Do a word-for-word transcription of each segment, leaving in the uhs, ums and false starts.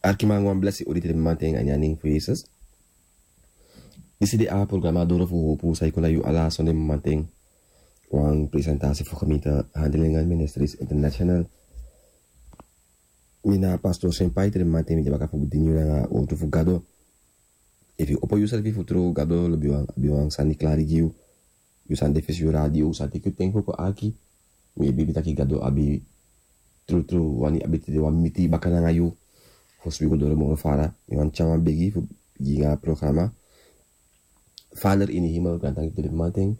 Arkiman, wan blesi odi te den mamanten a ini a nen fu Jesus. Disi de a programa Doro fu Hopu, san e kon na yu ala sonde mamanten. Wan presentasi fu gemeente Handelingan Ministries International. Mi na Pastor Senpai, te den mamanten mi de baka fu dini yu nanga wortu fu Gado. Efu yu opo yusrefi fu tru, Gado lobiwan, abi wan sani klari gi yu. Yu san de fesi yu radio, yu san teki yu ten fu kon arki. Mi e begi taki Gado abi trutru wani abi tide wan miti baka nanga yu. Fosi wi go doro moro fara, mi wani tyari wan begi fu bigin a programa. Vader ini hemel, grantangi te den mamanten.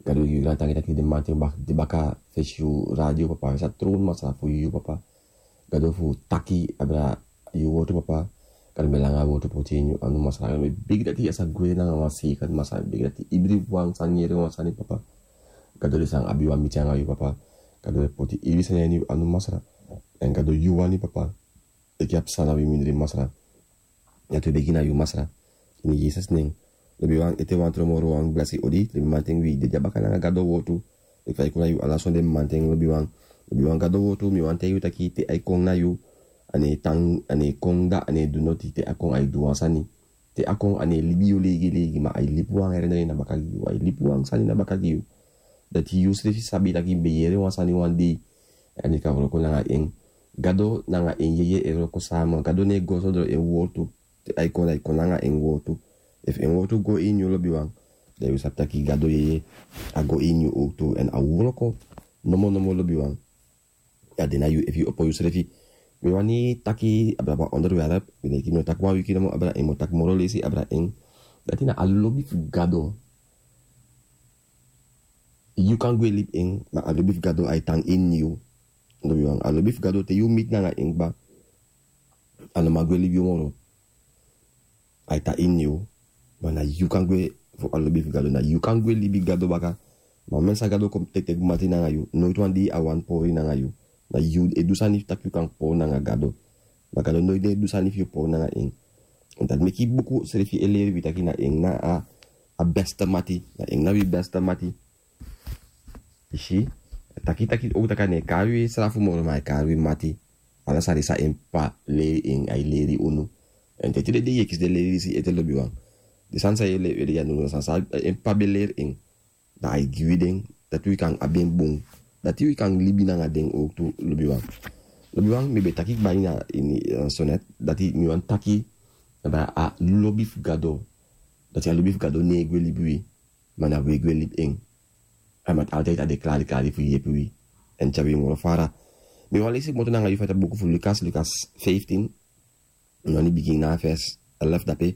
Gado, wi gi yu grantangi taki den mamanten bak-, de baka fesi yu radio, papa. Wi sa tron, Masra, fu yu, papa. Gado, fu taki abra yu wortu, papa. Gado, mi e langa a wortu poti ini yu anu, Masra. Gado, mi e begi dati a sa gwe nanga wan seiker, Masra. Mi e begi dati ibri wan sani, yere wan sani, papa. Gado, den san abi wan miti nanga yu, papa. Gado, mi e poti ibri sani ini yu anu, Masra. Èn Gado, yu wani, papa. Teki a psa na wi mindri, Masra. Dati wi e begi na yu, Masra. Ini Jesus nen. Lobiwan, ete wan tron moro wan blesi odi. Te den mamanten wi de dya baka nanga Gado wortu. Efu a e kon na yu ala sonde mamanten, lobiwan. Lobiwan, Gado wortu, mi wani taigi yu taki te a e kon na yu, a no e tan, a no e kon, da a no e du noti. Te a kon, a e du wan sani. Te a kon, a no e libi yu leigi leigi, ma a e libi wan herinnering na baka gi yu, a e libi wan sani na baka gi yu. Dati yusrefi sabi taki mi ben yere wan sani wan dei. A no kan wroko nanga en. Gado nanga en yeye e wroko sama. Gado no e go sondro en wortu. Te a e kon, a e kon nanga en wortu. Efu en wortu go ini yu, lobiwan, dan yu sabi taki Gado yeye a go ini yu owktu. Èn a wroko nomo nomo, lobiwan. A de na yu efu yu opo yusrefi. Mi wani taki abra wan onderwerp. Mi denki mi o taki wan wiki nomo abra en, mi o taki moro leisi abra en. Dati na a lobi fu Gado. Yu kan gwe libi en, ma a lobi fu Gado a e tan ini yu. Lobiwan, a lobi fu Gado, te yu miti nanga en kaba, a no man gwe libi yu moro. A e tan ini yu. Ma na yu kan gwe fu a lobi fu Gado, na yu kan gwe libi Gado baka. Ma men san Gado kon teki teki mati nanga yu, noiti wan dei a wani pori nanga yu. Na yu e du sani fu taki yu kan pori nanga Gado. Ma Gado noiti e du sani fu yu pori nanga en. Èn dati meki buku srefi e leri wi taki na en na a, a beste mati. Na en na wi beste mati. Yu si, taki, taki, o taki a no e kari wi srafu moro, ma a e kari wi mati. Ala sani san en p'pa leri en, a e leri unu. Èn te tide dei yu e kisi den leri disi ete, lobiwan. Den sani san yu e leri, yu e leri, a no san san en p'pa ben leri en. Dan a e gi wi den, dati wi kan abi en bun. Dati wi kan libi nanga den owktu, lobiwan. Lobiwan, mi ben taki kaba ini a, ini, eh, sonet, dati mi wani taki, na a lobi fu Gado. Dati a lobi fu Gado no e gwe libi wi. Ma na wi e gwe libi en. A mati altijd a de klari klari fu yepi wi. Èn tyari wi moro fara. Mi wani leisi kmoto nanga yu fu a buku fu Lukas, Lukas vijftien. Mi wani bigin na vers elf dape.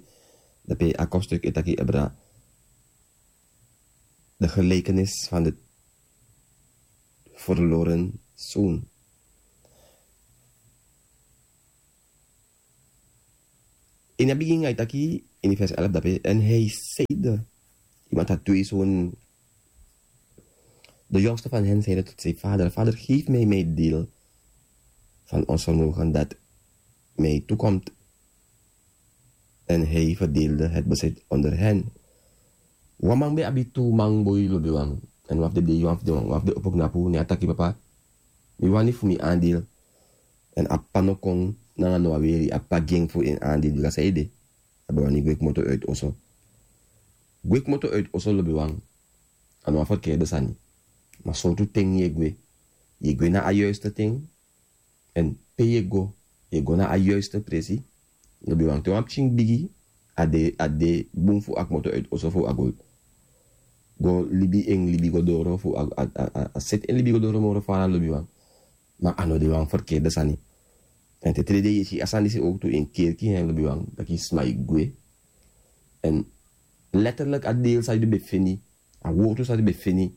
Dape a kopstuk e taki abra de gelijkenis van de verloren zoon. Ini a bigin a e taki, ini vers elf dape, en hij zeide, iemand had twee zonen. De jongste van hen zeide tot zijn vader: "Vader, geef mij mijn deel van ons vermogen dat mij toekomt." En hij verdeelde het bezit onder hen. Wan man ben abi tu man boi, lobiwan. Èn wan fu den dei, wan fu den, wan fu den opo knapu, ne a taki: "Papa, mi wani fu mi aandeel." Èn a p'pa no kon nanga no wan weri, a p'pa gi en fu en aandeel, bika san ede, a ben wani gwe kmoto uit oso. Gwe kmoto uit oso, lobiwan, a no wan verkeerde sani. Ma sortu ten yu e gwe. Yu e gwe na a juiste ten. Èn pe yu e go, yu e go na a juiste presi. Lobiwan, te wan pikin bigi, a de, a de bun fu a kmoto uit oso fu a go, go libi en libi go doro, fu a, a, a, a, a seti en libi go doro moro fara, lobiwan. Ma a no de wan verkeerde sani. Èn te tide dei yu e si a sani disi owktu ini kerki, lobiwan, taki sma e gwe. Èn letterlijk a deel san yu ben feni, a wortu san yu ben feni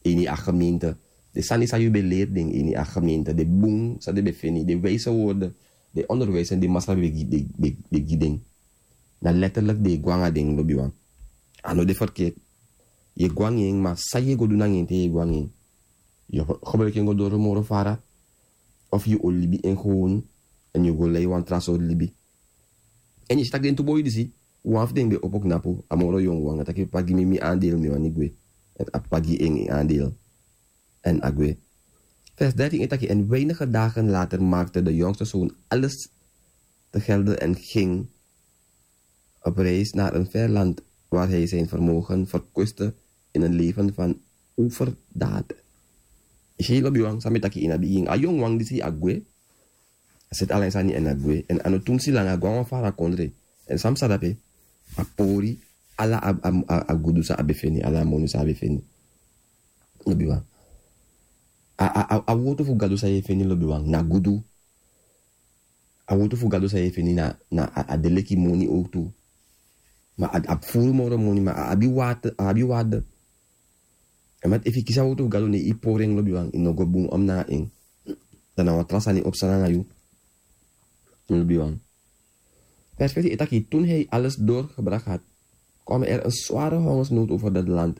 ini a gemeente. Den sani san yu ben leri den ini a gemeente, den bun san den ben feni, den wijze woorden, den onderwijzen di Masra ben gi, ben, ben, ben gi den. Na letterlijk den e go nanga den, lobiwan. A no de verkeerd. Yu e go nanga en, ma san yu e go du nanga en te yu e go nanga en? Yu o gebruik en go doro moro fara, of yu o libi en gewoon, èn yu o go lei wan tra sortu libi. Èn yu si taki den tu boi disi, wan fu den ben opo knapu, a moro yongu wan, a taki: "P'pa, gi mi mi aandeel, mi wani gwe." Èn a p'pa gi en en aandeel. Èn a gwe. Vers dertien e taki: "En weinige dagen later maakte de jongste zoon alles te gelden en ging op reis naar een ver land waar hij zijn vermogen verkwistte in een leven van overdaad. Isi lobiwan, san mi taki ini a bigin, a yongu wan disi a gwe. A seti ala en sani en a gwe. En a no tumsi langa a gwe na wan fara kondre. En san mi sa dape, a pori ala a, a, a, a gudu san a be feni, ala a moni san a be feni. Lobiwan. A, a, a, a wortu fu Gado san yu e feni, lobiwan, na gudu. A wortu fu Gado san yu e feni na, na a, a de leki moni owktu. Ma a, a furu moro moni, ma a abi wate, a abi wate. En met efu yu kisi a wortu fu Gado, ne yu pori en, lobiwan, yu no go bun om na en. Dan na wan tra sani o psa nanga yu. Lobiwan. Vers vijftien e taki: toen hij alles doorgebracht had, kwam er een zware hongersnood over dat land.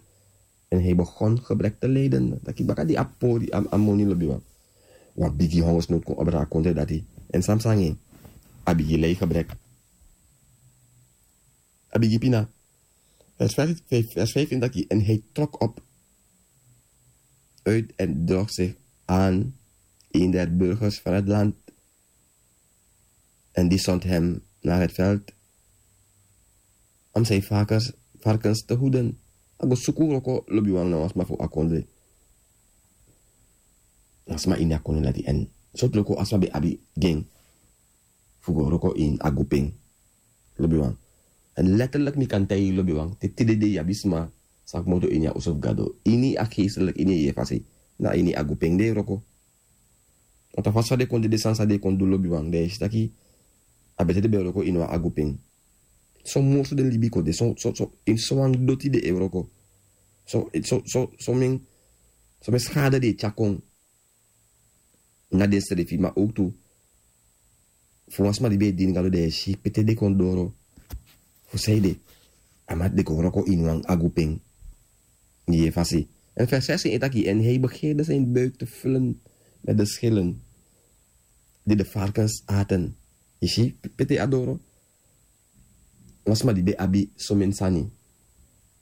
En hij begon gebrek te lijden. Taki baka di a pori a, a moni, lobiwan, wan bigi hongersnood kon abra a kondre dati. En san mi sa nanga en, a bigi lei gebrek. A bigi pina. Vers vijf, vers vijftien taki: en hij trok op uit en droeg zich aan een der burgers van het land. En die zond hem naar het veld om zijn varkens, varkens te hoeden. A go suku wroko, lobiwan, na wan sma fu a kondre. Na sma ini a kondre dati, en sortu wroko a sma be abi gi en fu go wroko ini agu pen, lobiwan. En letterlijk mi kan taigi yu, lobiwan, te tide dei yu abi sma sa komoto ini a oso fu Gado, ini a geestelijk, ini a yeye fasi, na ini agu pen den e wroko. Want a fasi fa den kon de, den sani san den kon du, lobiwan, dan yu e si taki a betete ben wroko ini wan agu pen. So morsu den libi kon de, so, so, so, ini sowan doti den e wroko. So, so, so, so men, so men schade den e tyari kon na densrefi, ma owktu fu wan sma di ben e dini Gado, dan yu e si pe te den kon doro. Fu saide? A man, den kon wroko ini wan agu pen. Yu e fasi. En vers zestien e taki: en hij begeerde zijn buik te vullen met de schillen die de varkens aten. Yu si pe te a doro? Wan sma di ben abi someni sani.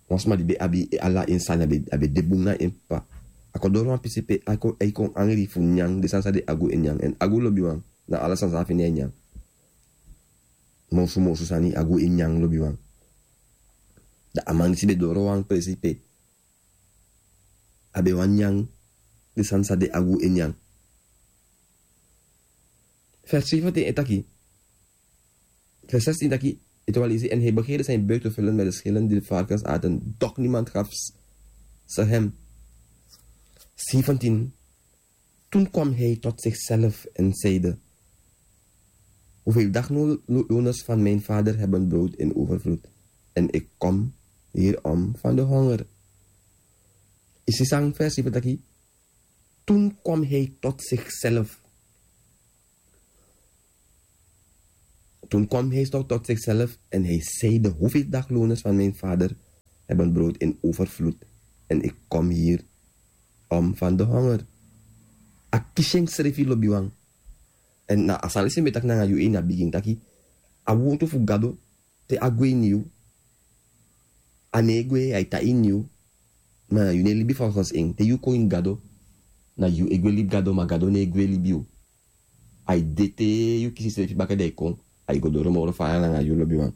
Wan sma di ben abi ala en sani, a ben, a ben de bun na en p'pa. A kon doro wan pisi pe a kon, a kon angri fu nyan den sani san den agu e nyan. En agu, lobiwan, na ala sani san a feni a e nyan. Morsu morsu sani agu e nyan, lobiwan. Dan a man disi ben doro wan presi pe a ben wani nyan den sani san den agu e nyan. Vers zeventien e taki, vers zestien taki, ete wan leisi: en hij begeerde zijn buik te vullen met de schillen die de varkens aten, doch niemand gaf ze hem. Zeventien: toen kwam hij tot zichzelf en zeide: hoeveel dagloners van mijn vader hebben brood in overvloed, en ik kom hier om van de honger. Yu si san vers zeventien taki? Toen kwam hij tot zichzelf. Toen kwam hij tot, tot zichzelf en hij zeide: hoeveel dagloners van mijn vader hebben brood in overvloed, en ik kom hier om van de honger. A kisi ensrefi, lobiwan. En na a sani san mi ben taki nanga yu ini a bigin taki, a wortu fu Gado, te a gwe ini yu, a no e gwe, a e tan ini yu. Ma na yu no e libi volgens en. Te yu kon ini Gado, na yu e gwe libi Gado, ma Gado no e gwe libi yu. A e de te yu kisi yusrefi baka, dan a e kon, a e go doro moro fara nanga yu, lobiwan.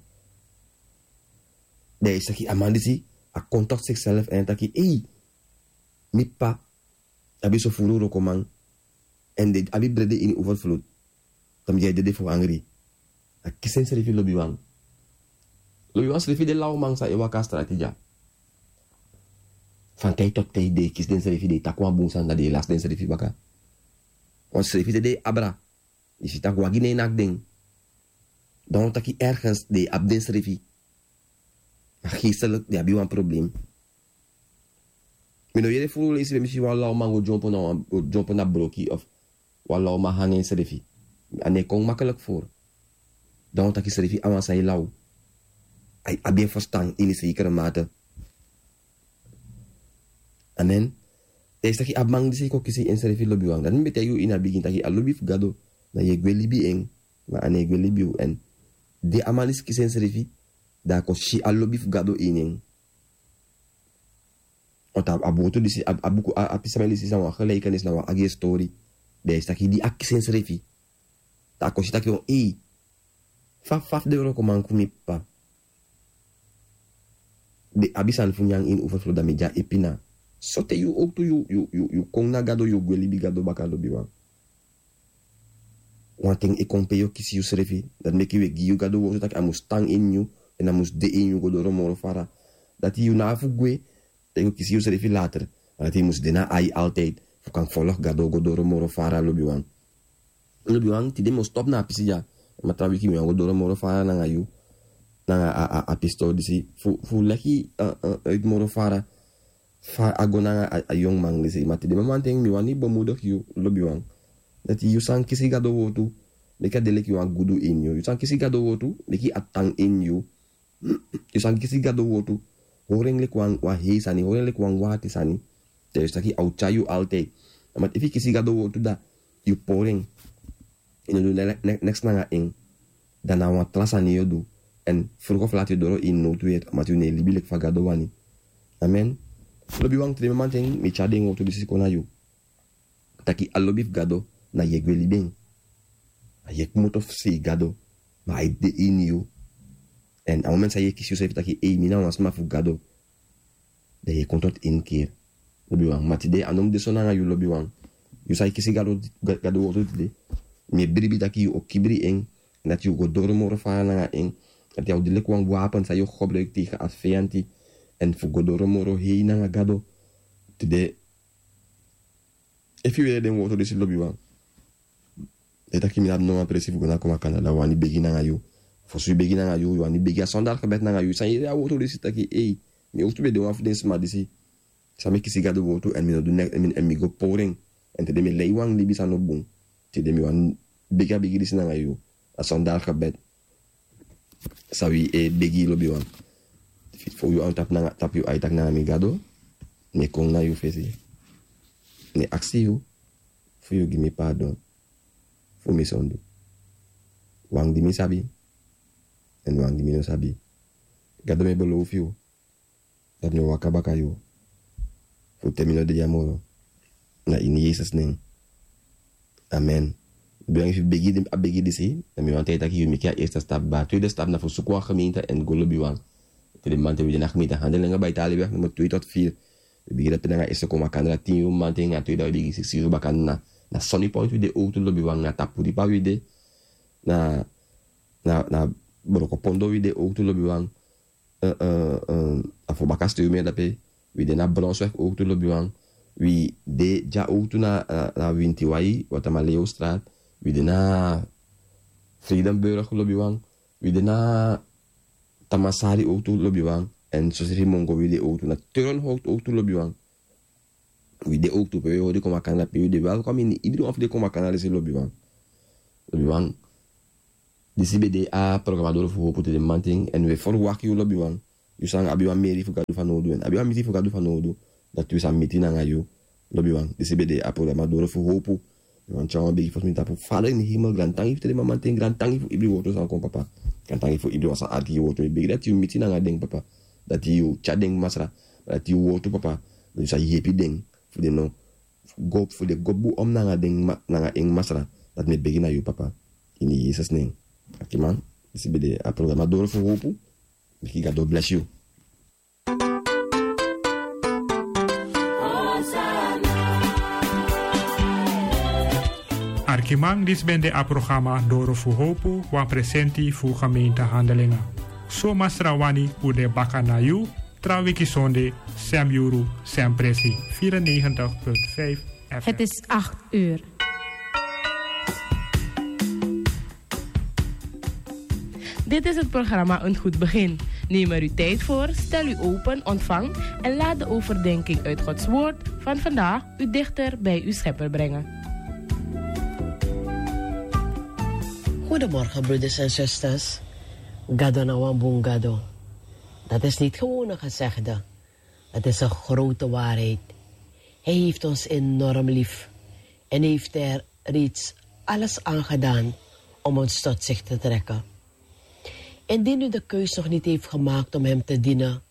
Dan yu e si taki a man disi, a kon tot zichzelf en taki: ei, mi p'pa abi so furu wrokoman, en den abi brede ini overvloed. Dan mi e dede fu angri. A kisi ensrefi, lobiwan. Lobiwan, srefi den lawman san e waka a strati dya, fa den e taki, den e kisi densrefi, den e taki wan bun sani, dan den e lasi densrefi baka. Want srefi te den e abra, yu si taki wagi no e naki den. Dan wan taki ergens den e abi densrefi. Ma geestelijk den abi wan probleem. Mi no yere furu leisi pe mi si wan lawman go dyompo na wan, go dyompo na broki of wan lawman hanga ensrefi. A no e kon makkelijk voor. Dan wan taki srefi a wan san e law. A e abi en verstan ini zekere mate. Amen. Dan yu e si taki a man disi kon kisi ensrefi, lobiwan. Dati mi ben taigi yu ini a bigin taki a lobi fu Gado, na yu e gwe libi en, ma a no e gwe libi yu. En di a man disi kisi ensrefi, dan a kon si a lobi fu Gado ini en. Want a, a boto disi, a, a buku, a, a pisi san mi e lisi, na wan gelijkenis, na wan agi tori. Dan yu e si taki di a kisi ensrefi, dan a kon si taki, o, ei, Fa fa fu den wrokoman fu mi p'pa, den abi sani fu nyan ini ufuru flo, dan mi de a e pina. Sote yu owtu yu yu yu yu kon na Gado, yu o gwe libi Gado baka, lobiwan. Wanten e kon pe yu o kisi yusrefi. Dati meki wi e gi yu Gado wortu taki a mus tan ini yu, èn a mus de ini yu go doro moro fara. Dati yu no abi fu gwe, dan yu o kisi yusrefi later. Ma dati yu mus de na ai altijd fu kan folg Gado go doro moro fara, lobiwan. Lobiwan, tide mi o stop na a pisi dya. Ma tra wiki mi wani go doro moro fara nanga yu, nanga a a a pistori disi fu fu leki, eh, eh, uit moro fara. Fa a go nanga a a yongu man disi. Ma tide mamanten mi wani bemoedig yu, lobiwan, dati yu san kisi Gado wortu, meki a de leki wan gudu ini yu. Yu san kisi Gado wortu, meki a tan ini yu. Yu san kisi Gado wortu, hori en leki wan wan hei sani, hori en leki wan wati sani. Dan yu si taki a o tyari yu altijd. Ma efu yu kisi Gado wortu, dan yu pori en, yu no du ne- ne- neks nanga en, dan na wan tra sani yu o du. Èn fruku of lati yu doro ini nowtu yet, ma yu no e libi leki fa Gado wani. Amen. Lobiwan, tide mamanten mi tyari den wortu disi kon na yu, taki a lobi fu Gado, na yu e gwe libi en. A yu e kmoto fu sei Gado, ma a e de ini yu. Èn a moment san yu e kisi yusrefi taki ei, mi na wan sma fu Gado, dan yu e kon tot ini kiri, lobiwan. Ma tide a no mus de so nanga yu, lobiwan. Yu san e kisi Gado, Ga- Gado wortu tide, mi e bribi taki yu o kibri en, dati yu go doro moro fara nanga en. Dati a o de leki wan wapen san yu o gebruiki tegen a feyanti, èn fu go doro moro hei nanga Gado. Tide, efu yu yere den wortu disi, lobiwan, dan yu taki mi no abi no wan presi fu go na Komakanra, dan wi wani begi nanga yu. Fosi wi begi nanga yu, wi wani begi a sondar gebed nanga yu. San yu yere a wortu disi taki ei, mi owtu ben de wan fu den sma disi san mi kisi Gado wortu èn mi no du neks, èn mi- èn mi go pori en. Èn tide mi e lei wan libi san no bun. Tide mi wani begi a begi disi nanga yu. A sondar gebed. San wi e begi, lobiwan. Fu yu an tapu nanga- tapu yu ai taki nanga mi, Gado, mi e kon na yu fesi, mi e aksi yu fu yu gi mi pardon fu mi sondu. Wan di mi sabi, èn wan di mi no sabi. Gado, mi e belofu yu dati mi o waka baka yu fu te mi no de dya moro. Na ini Yesus nen. Amen. Lobiwan, efu yu begi di- a begi disi, dan mi wani taigi taki yu meki a eerste stap, ma a tweede stap na fu suku wan gemeente èn go, lobiwan. Tide mamanten wi de na gemeente Handelinga, Baitali weg nummer twee tot vier. Wi bigin dati nanga eerste Komakanra tin yuru mamanten, a tweede wi bigin siksi yuru baka na, na Sunny Point wi de owtu, lobiwan, na Tapuripa wi de, na, na, na Brokopondo wi de owtu, lobiwan. Eh, eh, eh, a fu baka stuur mi dape. Wi de na Bronsweg owtu, lobiwan. Wi de dya owtu na, na, na Wintiwai, Watamaleostraat. Wi de na Vredenburg, lobiwan. Wi de na Tamasari owtu, lobiwan. Èn sosiri Mongo wi de owtu na Turnhout owtu, lobiwan. Wi de owtu pe wi hori Komakanra, pe wi de welkom ini ibri wan fu den Komakanra disi, lobiwan. Lobiwan, disi ben de a programa Doro fu Hopu tide mamanten, èn wi e ferwakti yu, lobiwan. Yu san abi wan meri fu Gado fanowdu, èn abi wan miti fu Gado fanowdu, dati wi sa miti nanga yu, lobiwan. Disi ben de a programa Doro fu Hopu. Mi wani tyari wan begi fosi mi tapu. Vader ini hemel, grantangi fu tide mamanten, grantangi fu ibri wortu san kon, papa. Grantangi fu ibri wan san arki yu wortu. Mi begi dati yu miti nanga den, papa. Dati yu tyari den, Masra. Dati yu wortu, papa, dati yu sa yepi den fu den no go, fu den go bun om nanga den ma- nanga en, Masra. Dati mi e begi na yu, papa. Ini Yesus nen. Arkiman, disi ben de a programa Doro fu Hopu. Meki Gado blesi yu. Arkiman, disi ben de a programa Doro fu Hopu, wan presenti fu gemeente Handelinga. So Masra wani, un de baka na yu tra wiki sonde, sem yuru, sem presi, vierennegentig punt vijf F M. Het is acht uur. Dit is het programma Een Goed Begin. Neem er uw tijd voor, stel u open, ontvang en laat de overdenking uit Gods Woord van vandaag u dichter bij uw Schepper brengen. Goedemorgen, broeders en zusters. Gado na wan bun Gado. Dat is niet gewoon een gezegde. Het is een grote waarheid. Hij heeft ons enorm lief en heeft er reeds alles aan gedaan om ons tot zich te trekken. Indien u de keus nog niet heeft gemaakt om Hem te dienen,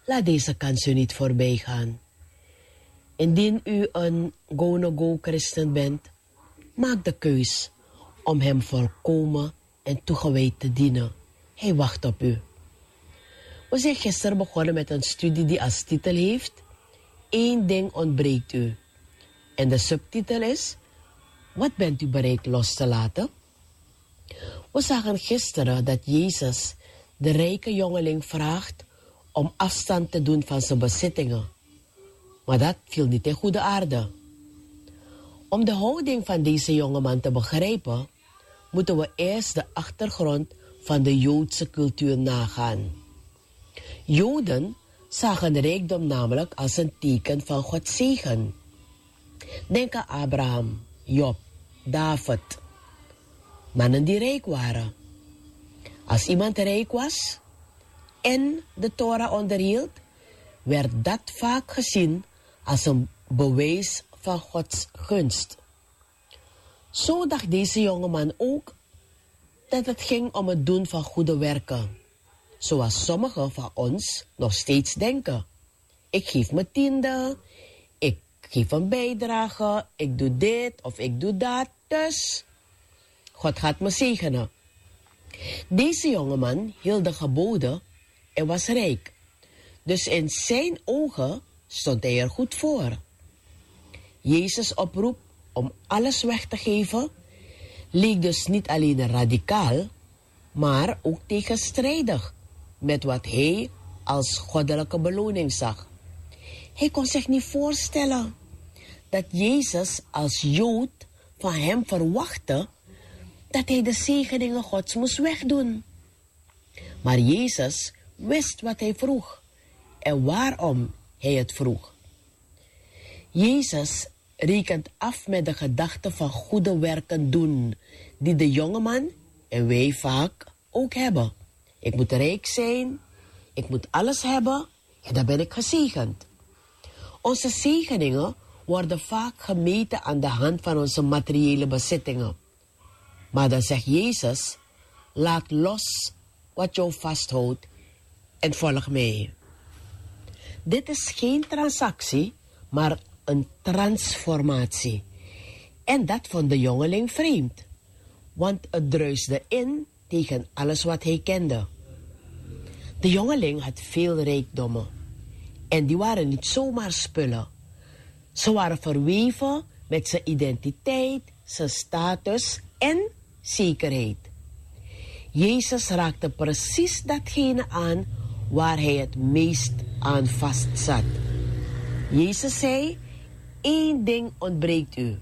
laat deze kans u niet voorbij gaan. Indien u een go-no-go-christen bent, maak de keus om Hem volkomen en toegewijd te dienen. Hij wacht op u. We zijn gisteren begonnen met een studie die als titel heeft: Eén ding ontbreekt u. En de subtitel is: Wat bent u bereid los te laten? We zagen gisteren dat Jezus de rijke jongeling vraagt om afstand te doen van zijn bezittingen. Maar dat viel niet in goede aarde. Om de houding van deze jongeman te begrijpen, moeten we eerst de achtergrond van de Joodse cultuur nagaan. Joden zagen rijkdom namelijk als een teken van Gods zegen. Denk aan Abraham, Job, David. Mannen die rijk waren. Als iemand rijk was en de Torah onderhield, werd dat vaak gezien als een bewijs van Gods gunst. Zo dacht deze jongeman ook dat het ging om het doen van goede werken, zoals sommigen van ons nog steeds denken. Ik geef mijn tiende, ik geef een bijdrage, ik doe dit of ik doe dat, dus God gaat me zegenen. Deze jongeman hield de geboden en was rijk. Dus in zijn ogen stond hij er goed voor. Jezus' oproep om alles weg te geven leek dus niet alleen radicaal, maar ook tegenstrijdig met wat hij als goddelijke beloning zag. Hij kon zich niet voorstellen dat Jezus als Jood van hem verwachtte dat hij de zegeningen Gods moest wegdoen. Maar Jezus wist wat hij vroeg en waarom hij het vroeg. Jezus rekent af met de gedachte van goede werken doen, die de jongeman en wij vaak ook hebben. Ik moet rijk zijn, ik moet alles hebben, en dan ben ik gezegend. Onze zegeningen worden vaak gemeten aan de hand van onze materiële bezittingen. Maar dan zegt Jezus: laat los wat jou vasthoudt en volg mij. Dit is geen transactie, maar een transformatie. En dat vond de jongeling vreemd, want het druisde in tegen alles wat hij kende. De jongeling had veel rijkdommen. En die waren niet zomaar spullen. Ze waren verweven met zijn identiteit, zijn status en zekerheid. Jezus raakte precies datgene aan waar hij het meest aan vastzat. Jezus zei: één ding ontbreekt u.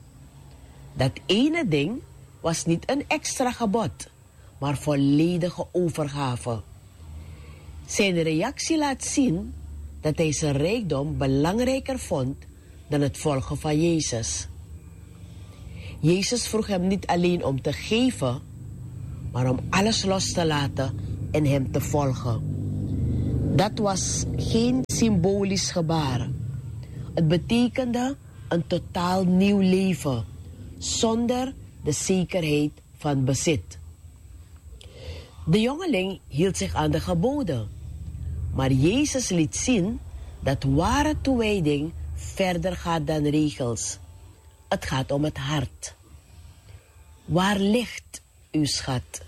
Dat ene ding was niet een extra gebod, maar volledige overgave. Zijn reactie laat zien dat hij zijn rijkdom belangrijker vond dan het volgen van Jezus. Jezus vroeg hem niet alleen om te geven, maar om alles los te laten en hem te volgen. Dat was geen symbolisch gebaar. Het betekende een totaal nieuw leven, zonder de zekerheid van bezit. De jongeling hield zich aan de geboden, maar Jezus liet zien dat ware toewijding verder gaat dan regels. Het gaat om het hart. Waar ligt uw schat?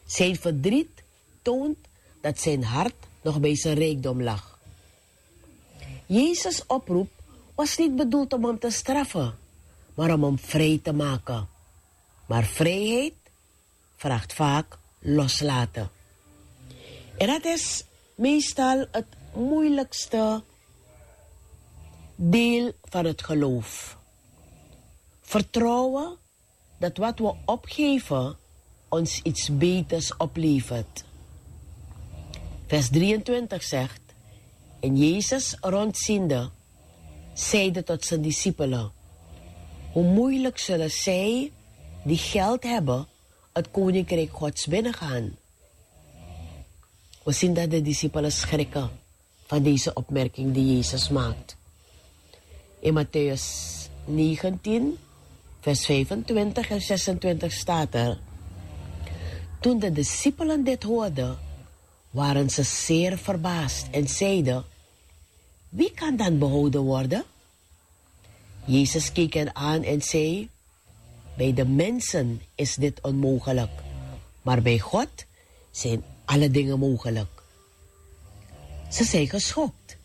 Zijn verdriet toont dat zijn hart nog bij zijn rijkdom lag. Jezus' oproep was niet bedoeld om hem te straffen, maar om hem vrij te maken. Maar vrijheid vraagt vaak loslaten. En dat is meestal het moeilijkste deel van het geloof. Vertrouwen dat wat we opgeven ons iets beters oplevert. Vers drieëntwintig zegt: en Jezus, rondziende, zeide tot zijn discipelen: hoe moeilijk zullen zij die geld hebben het koninkrijk Gods binnengaan? We zien dat de discipelen schrikken van deze opmerking die Jezus maakt. In Matthäus negentien, vers vijfentwintig en zesentwintig staat er: toen de discipelen dit hoorden, waren ze zeer verbaasd en zeiden: wie kan dan behouden worden? Jezus keek hen aan en zei: bij de mensen is dit onmogelijk, Maar bij God zijn alle dingen mogelijk. Ze zijn geschokt.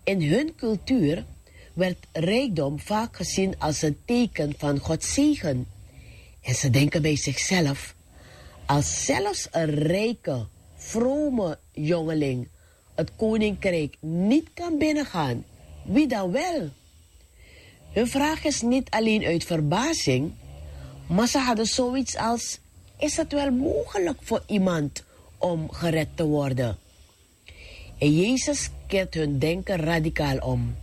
In hun cultuur werd rijkdom vaak gezien als een teken van Gods zegen. En ze denken bij zichzelf: als zelfs een rijke, vrome jongeling het koninkrijk niet kan binnengaan, wie dan wel? Hun vraag is niet alleen uit verbazing, maar ze hadden zoiets als: is het wel mogelijk voor iemand om gered te worden? En Jezus keert hun denken radicaal om.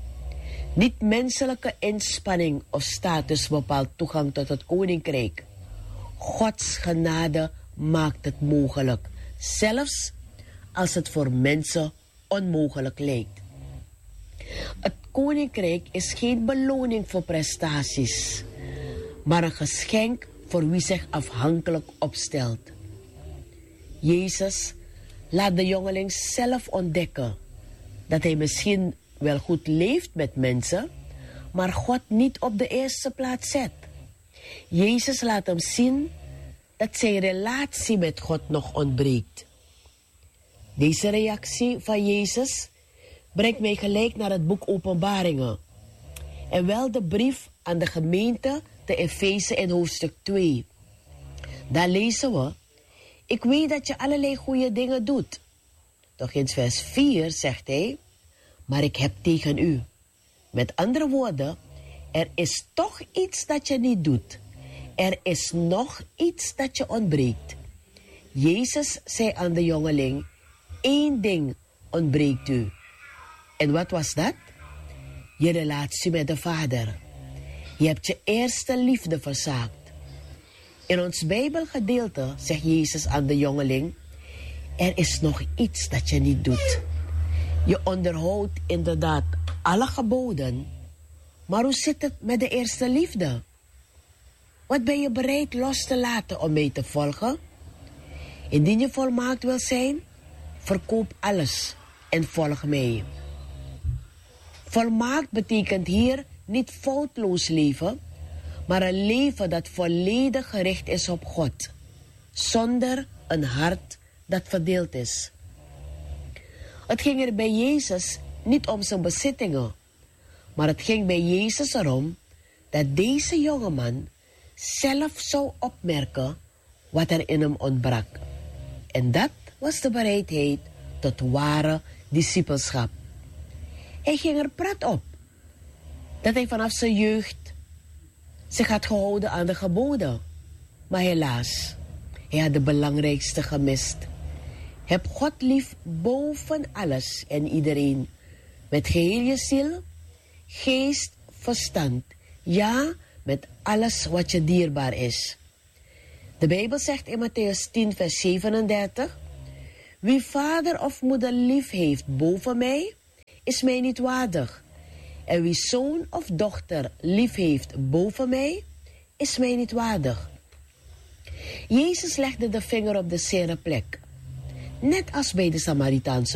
Niet menselijke inspanning of status bepaalt toegang tot het koninkrijk. Gods genade maakt het mogelijk, zelfs als het voor mensen onmogelijk lijkt. Het koninkrijk is geen beloning voor prestaties, maar een geschenk voor wie zich afhankelijk opstelt. Jezus laat de jongeling zelf ontdekken dat hij misschien wel goed leeft met mensen, maar God niet op de eerste plaats zet. Jezus laat hem zien dat zijn relatie met God nog ontbreekt. Deze reactie van Jezus brengt mij gelijk naar het boek Openbaringen, en wel de brief aan de gemeente te Efeze in hoofdstuk twee. Daar lezen we: ik weet dat je allerlei goede dingen doet. Toch in vers vier zegt hij: maar ik heb tegen u. Met andere woorden, er is toch iets dat je niet doet. Er is nog iets dat je ontbreekt. Jezus zei aan de jongeling: één ding ontbreekt u. En wat was dat? Je relatie met de Vader. Je hebt je eerste liefde verzaakt. In ons Bijbelgedeelte zegt Jezus aan de jongeling: er is nog iets dat je niet doet. Je onderhoudt inderdaad alle geboden, maar hoe zit het met de eerste liefde? Wat ben je bereid los te laten om mij te volgen? Indien je volmaakt wil zijn, verkoop alles en volg mij. Volmaakt betekent hier niet foutloos leven, maar een leven dat volledig gericht is op God, zonder een hart dat verdeeld is. Het ging er bij Jezus niet om zijn bezittingen, maar het ging bij Jezus erom dat deze jongeman zelf zou opmerken wat er in hem ontbrak. En dat was de bereidheid tot ware discipelschap. Hij ging er prat op dat hij vanaf zijn jeugd zich had gehouden aan de geboden. Maar helaas, hij had de belangrijkste gemist. Heb God lief boven alles en iedereen, met geheel je ziel, geest, verstand, ja, met alles wat je dierbaar is. De Bijbel zegt in Matthäus tien, vers zevenendertig: wie vader of moeder lief heeft boven mij, is mij niet waardig. En wie zoon of dochter lief heeft boven mij, is mij niet waardig. Jezus legde de vinger op de zere plek, net als bij de Samaritaanse